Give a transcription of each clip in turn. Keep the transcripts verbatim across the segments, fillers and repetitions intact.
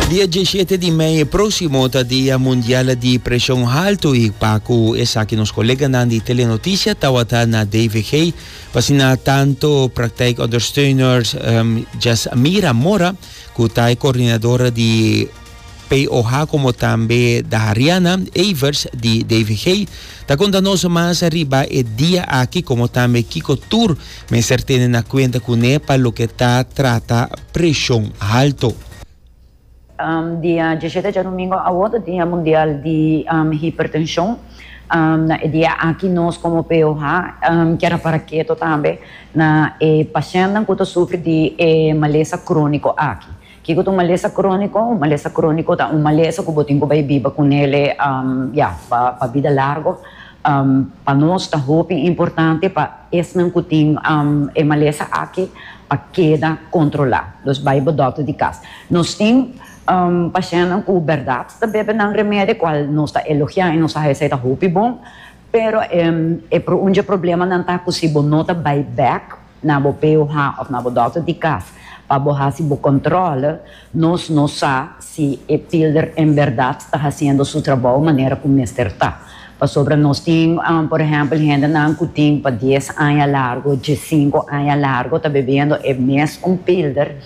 Dia diesshete di mei proximo ta Dia Mundial di Presion Halto y pa cu esaki nos coleganan di Telenoticia tawata na D V G pa asina tanto praktijkondersteuners um, Jasmira Mora, cu ta e coordinadora di P O H, como tambe Dariana Evers di D V G, ta conta nos mas riba e dia aki, como tambe kico tur mester tene na cuenta cune pa loke ta trata presion halto. Um, dia diesshete djadumingu awor ta Dia Mundial di um, Hipertenshon. Um, na e dia aki nos komo P O H um, kier para ketu tambe na e pashènt ku ta sufri di e malesa króniko aki. Kiko ta un malesa króniko? Un malesa króniko ta un malesa ku bo tin ku bai biba kuné um, ja, pa, pa bida largu. Um, pa nos ta hopi importante pa esnan ku tin um, e malesa aki pa keda kontrolá. Dus bai bo dòkter di kas. Nos tin um, pashènt ku berdat ta bebe nan remedi, kual nos ta elogiá i nos ta ta hopi bon, pero um, e pro un problemanan ta ku si bo no ta bai back na bo P O H òf na bo dòkter di kas pa bo hasi bo kontrol, nos no sa si e pilder en berdat ta hasiendo su trabou manera ku mester ta. Pasobra nos tin, um, por ehèmpel, hendenan ku tin pa dies aña largu, diesinku aña largu, ta bebiendo e mesun pilder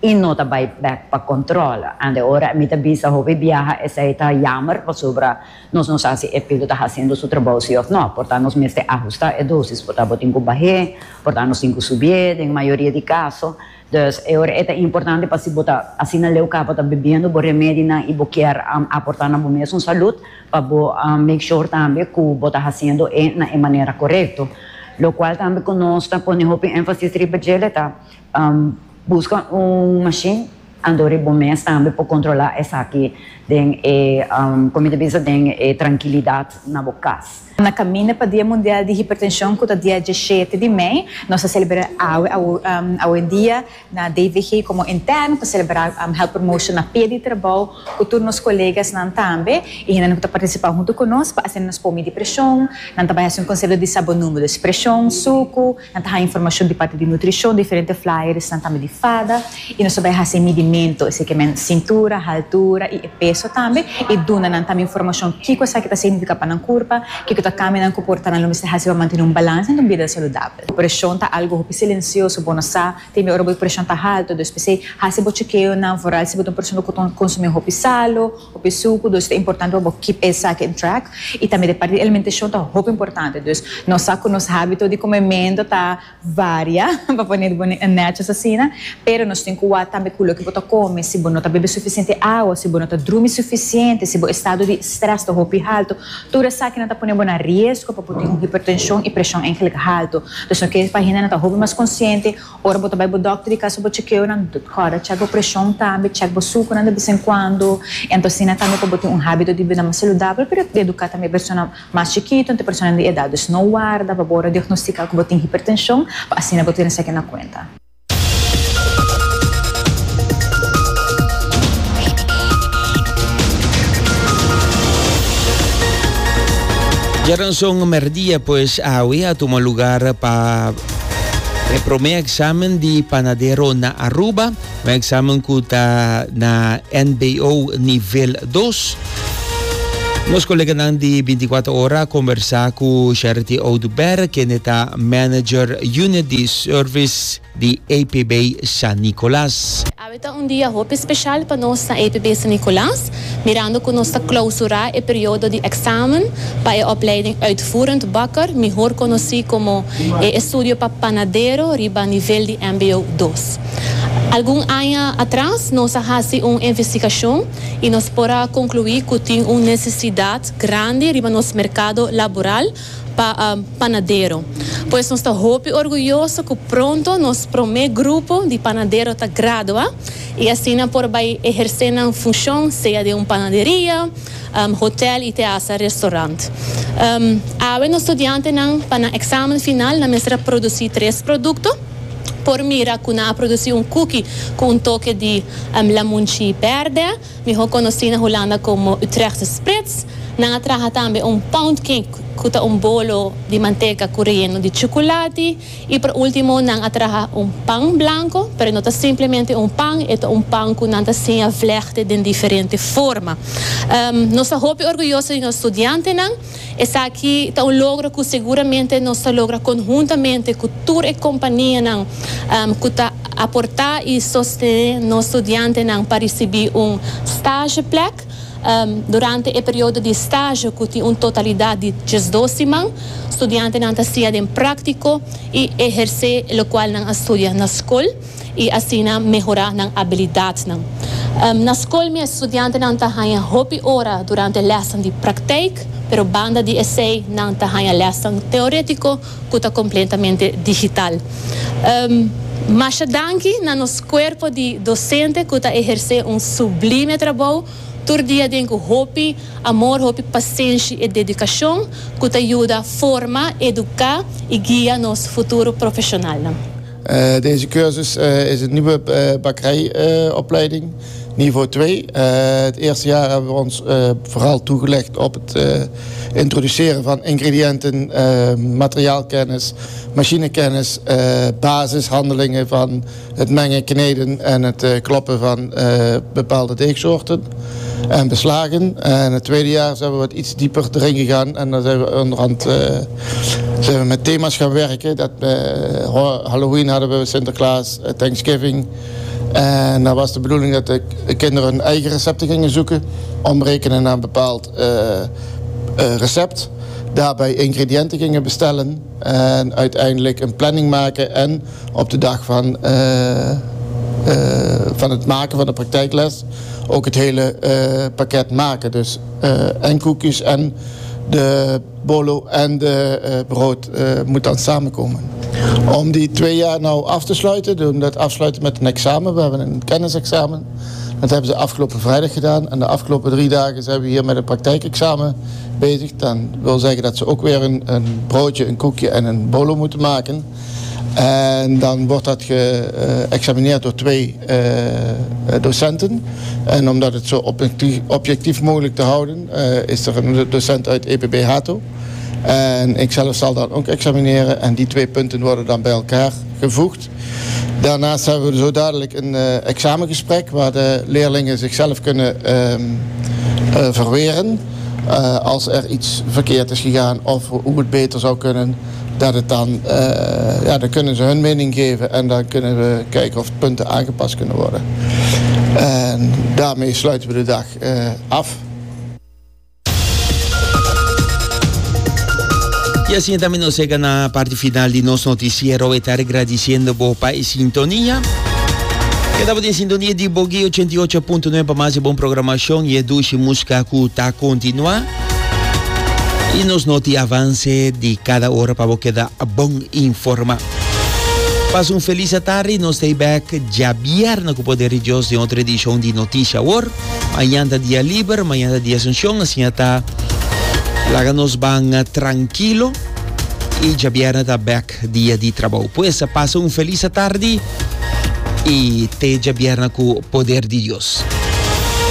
i no ta bai back pa kontrol. Anto ora mi ta bisa hopi biaha esei ta jammer, pasobra nos no sa si e pilder ta hasiendo su trabou si òf no. Por ta nos mester ahustá e dosis, por ta bo tin ku bah'é, por ta nos tin ku subi den mayoria di kaso. Dus e ora ta importante pa si bo ta asina leu kaba ta bebiendo bo remedinan i bo kier um, aportá na bo mes salú, pa bo um, make sure tambe ku bo ta hasiendo e na e manera korekto. Lo kual tambe ku nos ta pone hopi énfasis riba dje ta um, buska un machine anto bo mes tambe por kontrolá esaki den e um, kon bisa, den e trankilidat na bo kas. Na kaminda pa Dia Mundial di Hipertenshon, ku ta dia diesshete di mei, nos ta selebrá awe, um, awendia na D V G komo interno pa selebrá um, health promotion na pia di trabou, ku tur nos koleganan tambe, i nan ta partisipá huntu ku nos, pa asina nos por midi preshon, nan tambe un konsepto di sa bo number di preshon, suku, nan ta informashon di parti di nutrishon, diferente flyers, nan tambe di fada, i nos tambe hasi midimentu, esei ke men sintura, altura i peso tambe, i duna nan tambe informashon kiko esaki ta signifiká pa nan kurpa, kiko ta kambio komportamentu lo mester hasi pa mantené un balansa i un bida saludabel. Preshon ta algu hopi silensioso, bo no sa, tin ora bo preshon ta haltu, dus p'esei hasi bo chekeonan, vooral si bo ta un persona ku ta konsumí hopi salu, hopi suku, dus ta importante pa keep esaki in track. I tambe e parti di alimentashon ta hopi importante, dus nos sa ku nos hábito di komementu ta varia, pa pone netjes asina, pero nos tin ku tambe ku loke bo ta kome, si bo no ta bebe sufisiente awa, si bo no ta drumi sufisiente, si bo estado di stress ta hopi haltu, tur esakinan ta pone bo na riesgo pa tin un hipertenshon i preshon eigenlijk haltu. Dus nos ke pa hendenan ta hopi mas konsiente, ora bo ta bai bo dòkter di kas bo chekeonan, kòrda check bo preshon tambe, check bo sukunan di bes en kuando, anto asina tambe pa tin un hábito di bida mas saludabel, pero eduká tambe persona mas chikitu, anto persona di edat. Dus no warda pa bo diagnostiká ku bo tin hipertenshon, pa asina bo tene esaki na kuenta. Djaranson merdia, pues awe a tuma lugá pa e promé eksamen di panadero na Aruba, un eksamen ku ta na M B O nivel dos. Nos koleganan di bintikuater Ora a kombersá ku Charity Oduber, ku ta manager unit di service di E P B San Nicolas. Awe ta un dia hopi spesial pa nos na E P B San Nicolas, mirando ku nos ta klousurá e periodo di eksamen pa e opleiding uitvoerend bakker, mihó konosí komo e estudio pa panadero riba nivel di M B O dos. Algun aña atras, nos a hasi un investigashon i nos por a konkluí ku tin un nesesidat grandi riba nos merkado laboral pa um, panadero. Pues nos ta hopi orguyoso ku pronto nos promé grupo di panadero ta gradua i asina por bai ehersé nan funshon, sea den un panaderia, um, hotel i te hasta restaurant. Um, awe nos studiantenan pa nan eksamen final nan mester a produsí tres produkto. Por mira ku nan a produsí un cookie ku un toke di um, lamunchi bèrdè, mihó konosí na Hulanda komo Utrechtse Spritz. Nan a traha tambe un pound cake, ku ta un bolo di manteka ku reyeno di chukulati. I por último, nan a traha un pan blanku, pero no ta simplemente un pan, e ta un pan ku nan ta siña vlechten den diferente forma. Um, nos ta hopi orguyoso di nos studiantenan. Esaki ta un logro ku siguramente nos a logra konhuntamente ku tur e kompanianan um, ku ta aportá i sostené nos studiantenan pa risibí un stageplek. Um, durante e periodo di stage, ku tin un totalidat di diesdos siman, studiantenan ta siña den práktiko i ehersé loke nan a studia na skol i asina mehorá nan abilidatnan. Um, na skol, e studiantenan ta haña hopi ora durante les di praktijk, pero banda di esei nan ta haña les teóriko ku ta kompletamente digital. Um, Masha danki na nos kuerpo di dosente ku ta ehersé un sublime trabou tur dia den ku hopi amor, hopi pasenshi i dedikashon ku ta yuda forma, eduká i guia nos futuro profeshonal. Uh, deze cursus uh, is een nieuwe uh, bakkerijopleiding, niveau twee. Het eerste jaar hebben we ons vooral toegelegd op het introduceren van ingrediënten, materiaalkennis, machinekennis, basishandelingen van het mengen, kneden en het kloppen van bepaalde deegsoorten en beslagen. En het tweede jaar zijn we wat iets dieper erin gegaan en dan zijn we onderhand uh, zijn we met thema's gaan werken. Dat, uh, Halloween hadden we, Sinterklaas, Thanksgiving. En dan was de bedoeling dat de kinderen hun eigen recepten gingen zoeken, omrekenen naar een bepaald uh, recept. Daarbij ingrediënten gingen bestellen en uiteindelijk een planning maken en op de dag van, van het maken van de praktijkles ook het hele uh, pakket maken. Dus uh, en koekjes en de bolo en de uh, brood moet dan samenkomen. Om die twee jaar nou af te sluiten, doen we dat afsluiten met een examen. We hebben een kennisexamen. Dat hebben ze afgelopen vrijdag gedaan. En de afgelopen drie dagen zijn we hier met een praktijkexamen bezig. Dan wil zeggen dat ze ook weer een, een broodje, een koekje en een bolo moeten maken. En dan wordt dat geëxamineerd door twee uh, docenten. En omdat het zo objectief, objectief mogelijk te houden, uh, is er een docent uit E P B Hato. En ik zelf zal dan ook examineren. En die twee punten worden dan bij elkaar gevoegd. Daarnaast hebben we zo dadelijk een uh, examengesprek waar de leerlingen zichzelf kunnen uh, uh, verweren. Als er iets verkeerd is gegaan of hoe het beter zou kunnen, dat het dan, uh, ja, dan kunnen ze hun mening geven en dan kunnen we kijken of punten aangepast kunnen worden. En daarmee sluiten we de dag uh, af. I asina tambe nos a yega na parti final di nos notisiero. E ta gradisiendo bo pa e sintonia. Keda den sintonia di Bogui ochenta i ocho punto nuebe pa mas bon programashon i e dushi músika ku ta kontinuá. I nos noti avanse di kada ora pa bo keda bon informá. Pasa un felis atardi, nos ta bek djabièrnè ku poder di Dios den otro edishon di Noticia Awor. Mañan ta dia liber, mañan ta dia Asunción, asina ta laga nos ban trankilo i djabièrnè ta bek dia di trabou. Pues pasa un felis atardi i te djabièrnè ku poder di Dios.